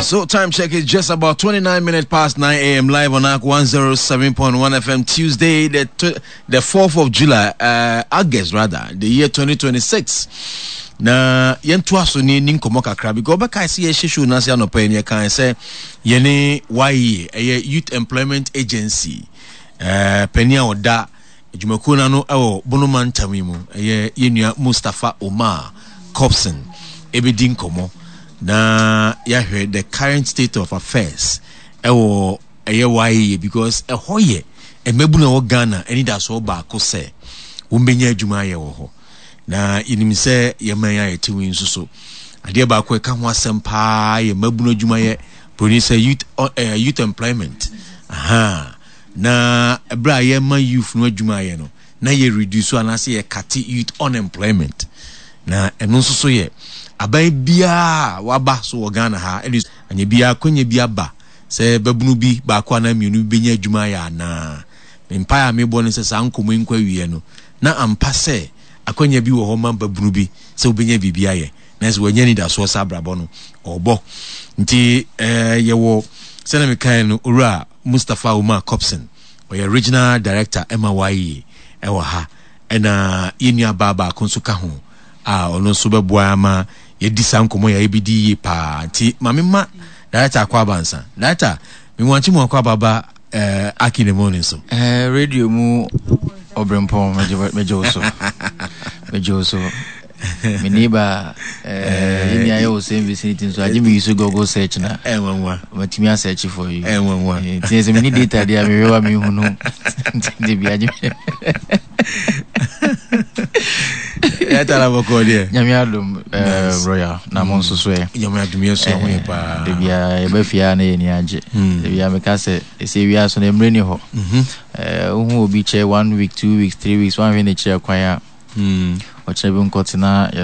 So time check is just about 29 minutes past 9 a.m. live on ARC 107.1 FM Tuesday, the the 4th of July, uh, August rather, the year 2026. Na yɛntoa so ne ni nkɔmmɔ kakra because ɔbɛkae sɛ yɛhyɛ show no ase anɔpa yi ne yɛkae sɛ yɛne YEA ɛyɛ Youth Employment Agency uh, panin a ɔda Adwumakuo no ano wɔ Bono mantam yi mu yɛ yɛn nua Mustapha Omar Cobson ɛbɛdi nkɔmmɔ na yɛahwɛ the current state of affairs ɛwɔ ɛyɛ YEA because ɛhɔ yɛ mmabunu a ɛwɔ Ghana anidasoɔ baako sɛ wɔbɛnya adwuma ayɛ wɔ hɔ na yɛnim sɛ yɛman yi a yɛte mu yi nso so adeɛ baako ɛka ho asɛm paa yɛ mmabunu adwumayɛ broni sɛ youth, uh, youth employment aha. Na ɛberɛ a yɛma youth no adwuma ayɛ no, na yɛ reduce anaasɛ yɛ kate youth unemployment. Na ɛno nso so yɛ aban biara a waba so wɔ Ghana ha, ɛne anyɛ biara akwanya bi aba sɛ babunu bi baako anaa mmienu bi bɛnya adwuma ayɛ anaa. Me mpaeɛ a mebɔ ne sɛ saa nkɔmmɔ yi nkɔ awieɛ no, na ampa sɛ akwanya bi wɔ hɔ ma babunu bi sɛ wobɛnya biribi ayɛ. Nanso wanya anidasoɔ sɛ abrabɔ no ɔrebɔ. Nti eh, yɛwɔ sɛdeɛ mekaeɛ no, Owura Mustapha Umar Copson, ɔyɛ Regional Director ma YEA wɔ ha, ɛna yɛn nua baa baako nso ka ho a ɔno nso bɛboa ama yɛadi saa nkɔmmɔ yi a yɛbɛdi yie paa. Nti ma me ma Director akɔ aba nsa. Director, me wankye mu akɔ aba ba eh, Aki ne morning so. Eh, radio mu ɔbrempɔn megye wo so. Megye wo so. Me neighbor, eh, yɛn nyinaa yɛwɔ same vicinity nso agye me use Google search na. Ɛnwanwa. Matumi a search for you. Ɛnwanwa. Nti sɛ meni data deɛ a mehwɛ wa mehu no. Nti bi agye me. Ɛta na bɔkɔ deɛ. Nyame adom royal na mo nso so ɛ. Nyame adom yɛ so ho yɛ paa. Da biara yɛba fie a na yɛn ani agye. Da biara meka sɛ ɛsɛ wia so na mmerɛ ni hɔ. Wohu obi kyɛ 1 week, 2 weeks, 3 weeks, wanhwɛ n'akyiri kwan a. Ɔkyerɛ bi nkɔtena.